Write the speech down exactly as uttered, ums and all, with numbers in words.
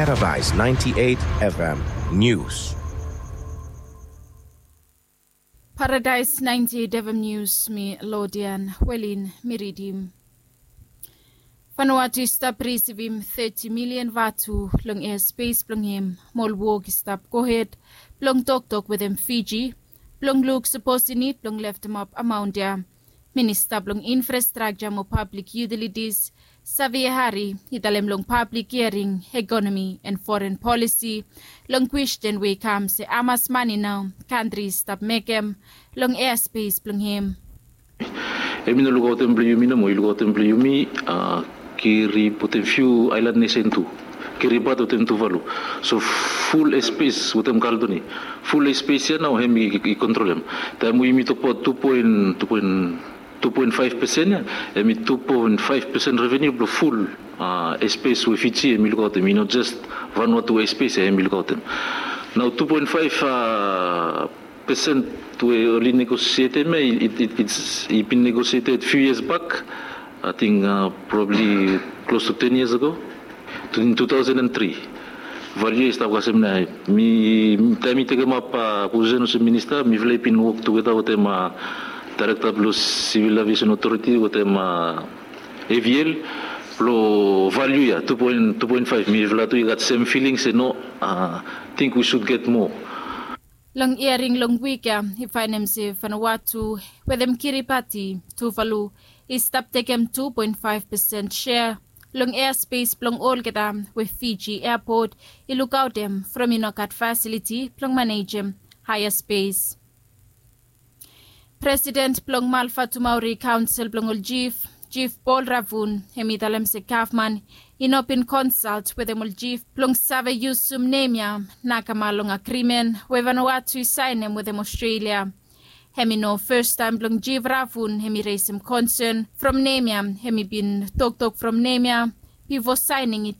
Paradise ninety-eight F M News. Paradise ninety-eight F M News, mi Lodian Welin mi ridim. Vanuatu i stap risivim thirty million vatu long airspace blong hem. Mo ol wok i stap gohed blong toktok wetem Fiji blong luk sapos i nid blong leftemap amaon ya. Minista blong infrastrakja mo pablik yutilitis Xavier Hari i talem long pablik hiaring ekonomi and foren polisi long kwesten we i kam se hamas mane nao kantri i stap mekem long airspace blong hem. Hem i no lukaotem blong yumi nomo, i lukaotem blong yumi. Kiri wetem fiu aelan nesen tu, Kiribati wetem Tuvalu. So ful airspace wetem Kaledoni, ful airspace ya nao hem i kontrolem. Taem we yumi tokbaot tu poen tu poen tu poen faef pesen ya, hem i tu poen faef pesen revenu blong ful airspace we Fiji hem i lukaotem, i no jes Vanuatu airspace ya hem i lukaotem. Nao tu poen faef pesen we oli negosietem ya, i bin negosieted few years back, ating probably close to ten years ago, in two thousand and three. Valiu ya i stap kasem nao. Mi taem mi tekemap posisen olsem minista, mifala i bin wok tugeta wetem daerekta blong Civil Aviation Authority wetem A V L blong valiu ya tu poen tu poen faef. Mifala tu i gat sem filing se no, ting we sud get moa. Long hiaring long wik ya i faenem se Vanuatu wetem Kiribati, Tuvalu i stap tekem tu poen faef pesen sea long airspace blong olgeta we Fiji airport i lukaotem from i no gat fasiliti blong manejem haea space. Presiden blong Malvatumauri Kaonsel blong ol Jif, Jif Paul Ravun, hem i talem se gavman i no bin konsalt wetem ol Jif blong save yusum nem ya nakama long agrimen we Vanuatu i saenem wetem Ostrelia. Hem i no fastaem blong Jif Ravun hem i resem konsen from nem ya. Hem i bin toktok from nem ya bifo saening i tek